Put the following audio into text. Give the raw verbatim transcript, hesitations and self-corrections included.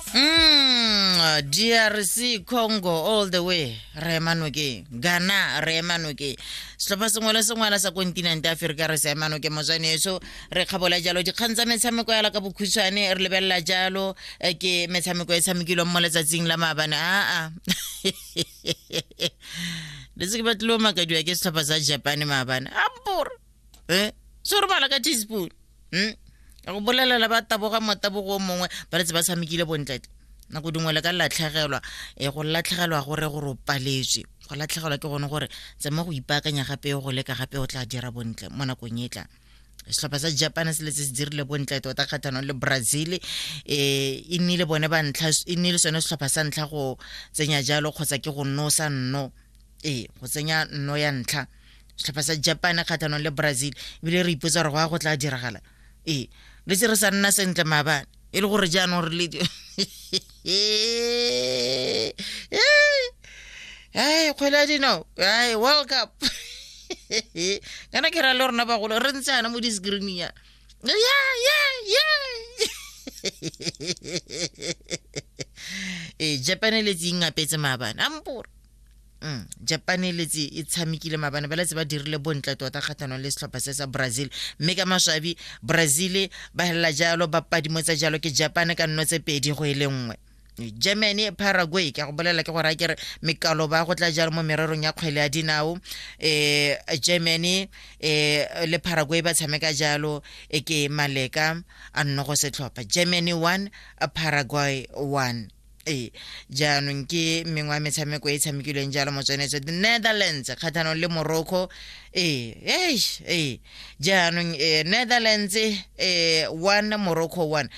Mm, D R C Congo all the way, re ema nokeng. Ghana, re ema nokeng. Setlhopha sengwe le sengwe sa kontinente Aforika re se ema nokeng. Motswaneso, re kgabola jalo dikgang tsa metshameko yala ka bokhutshwane. Re lebelela jalo eh, ke metshameko e tshamekilweng mo letsatsing la maabane. Aa, le se ke batlile o makadiwa ke setlhopha sa Japan maabane. Ampore eh se re bala ka teaspoon hmm? Ka go bolelela, ba taboga motabogo o mongwe, ba letse ba tshamekile bontletle. Nako dingwe le ka latlhegelwa, e go latlhegelwa gore gore o paletswe, go latlhegelwa ke gone gore tsama go ipaakanya gape, go leka gape, o tla dira bontle mo nakong e tlang. Setlhopha sa Japan se letse se dirile bontle tota kgatlhanong le Brazil. um e nnile bone ba ntlha, e nnile sone setlhopha sa ntlha go tsenya jalo, kgotsa ke go nosa nno, ee, go tsenya nno ya ntlha, setlhopha sa Japan kgatlhanong le Brazil. Ebile re ipotsa gore go ya go tla diragala. Ee, le tse re sa nna sentle maabane, e le gore jaanong re le ai kgwele ya dinao, ai, World Cup. Kana ke ra le rona bagolo re ntse ana mo di-screening ya ya ya ya. Ee, Japan e letse ingapetse maabane. Ampore Mm, Japan e letse e tshamekile maabane, ba letse ba dirile bontle tota kgatlhanong le setlhopha se sa Brazil, mme ka maswabi Brazil ba helela jalo, ba padimotsa jalo ke Japan ka nno tse pedi go e le nngwe. Germany, Paraguay, ke a go bolela ke gore a kere mekalo ba go tla jalo mo mererong ya kgwele ya dinao. um Germany um le Paraguay ba tshameka jalo, e ke maleka a nno go setlhopha, Germany one, Paraguay one. Ee, jaanong ke mengwe ya metshameko e e tshamekilweng jalo, motswanetso. The Netherlands kgatlhanong le Morocco. Ee, ee, jaanong eh, Netherlands eh, one, Morocco one.